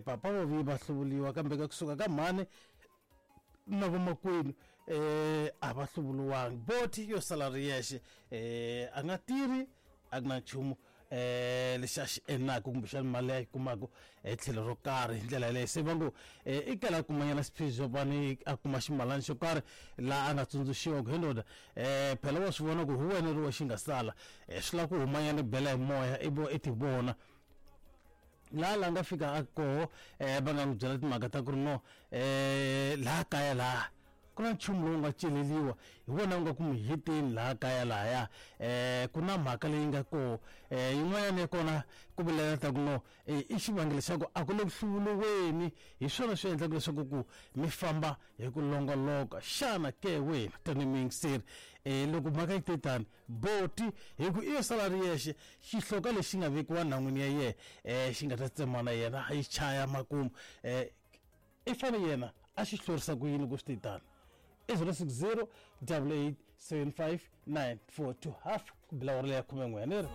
Papa va vuye va hluvuriwa, kambe ka kusuka ka mhani na vamakwenu a va hluvuriwangi. Boti yo sala ri yexe, a nga tirhi, a ku na nchumu lexi a xi endlaka kumbexana mali leyi a yi kumaka hi tlhelo ro karhi. Hi ndlela yaleyo se va ngo i kala a kumanyana xiphiqo, a kuma ximalana xo karhi laha a nga tsundzuxiwa ku he ndoda, phela wa swi vona ku hi wena ri wa xi nga sala, swi lava ku humanyana bela hi moya i vo i ti vona laha la nga fika a koho. Va nga n'wi byela timhaka ta ku ri no, laha kaya laha ku na nchumu lowu nga celeriwa hi wona wu nga ku mi heteni laha kaya lahaya. Ku na mhaka leyi nga koho, yin'wanyana ya kona ku vilela ta ku no, i xivangelo xa ku a ku le ku hluvuriweni, hi swona swi endlaka leswaku ku mi famba hi ku longoloka. Xana ke wena tanihi muyingiseri, loko mhaka yi te tani, boti hi ku i yo sala ri yexe, xihloka lexi nga vekiwa nhan'wini ya yena, xi nga ta tsemana yena yi chaya makumu, i fane yena a xi hlurisa ku yini loko swi te tani? I 060 88 75 942 half ku bila awara leya 11 ni ri.